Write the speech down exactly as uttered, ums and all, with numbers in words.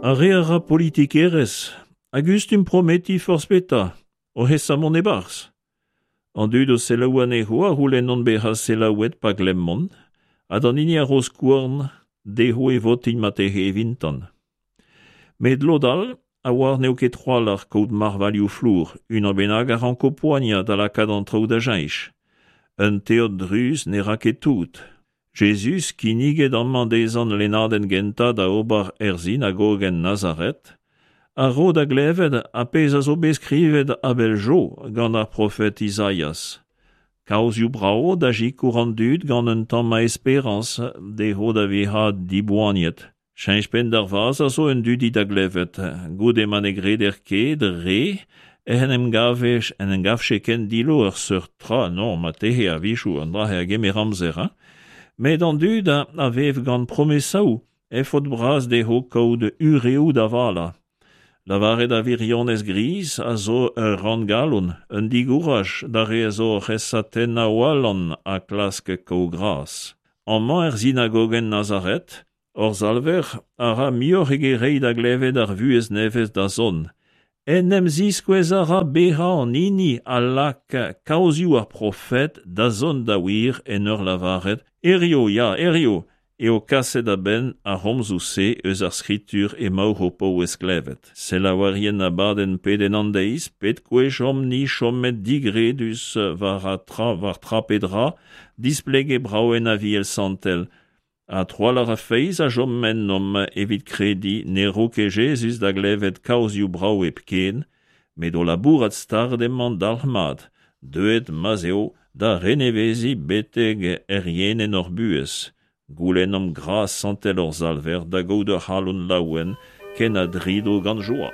Ar re a ra politikerezh a gustum prometiñ forzh petra, oc'h esa mont e-barzh. An dud o selaou anezho a c'houlennont bezañ selaouet pa glemmont, ha d'an hini a ro skouarn dezho e votint marteze evintan. Met lod all a oar n'eo ket trawalc'h kaout marvailhoù flour, unan bennak a ranko poaniañ da lakaat an traoù da cheñch. Un teod druz ne ra ket tout. Jezuz kinniget amañ dezhañ lennadenn gentañ da ober er sinagogenn Nazaret, a ro da glevet ar pezh a zo bet skrivet a-bell zo gant ar profed Izaias. Kaozioù brav da sikour an dud gant un tamm a esperañs dezho da vezañ diboaniet. Cheñch penn d'ar vazh a zo un dudi da glevet, goude ma ne greder ket re ec'h en em gave en em gavfe ken dillo ur seurt tra, non, marteze a-wechoù an dra-se a gemer amzer, hein. Met an dud a vev gant promesaoù e faot bras dezho kaout ureoù da valañ. Lavaret ar wirionez griz a zo ur ranngalon, un digouraj d'ar re a zo oc'h esa tennañ o alan ha klask kaout gras. Amañ er sinagogenn Nazaret, hor Salver a ra muioc'h eget reiñ da glevet ar vuhez nevez da zont. En em ziskouez a ra bezañ an hini a lak kaozioù ar profed da zont da wir en ur lavaret Hiziv, ya, hiziv eo kaset a-benn ar c'homzoù-se eus ar skritur emaoc'h o paouez klevet. Selaouerien abadenn Pedenn an deiz, pet gwech omp-ni chomet digredus war tra, war tra pe dra, displeget brav en Aviel Santel, ha trawalc'h a feiz a chom ennomp evit krediñ ne ro ket Jezuz da glevet kaozioù brav hepken, met o labourat start emañ dalc'hmat, deuet ma'z eo da reneveziñ betek errienenn hor buhez. Goulennomp gras santel hor Salver da gaout ur c'halon laouen ken a drido gant joa.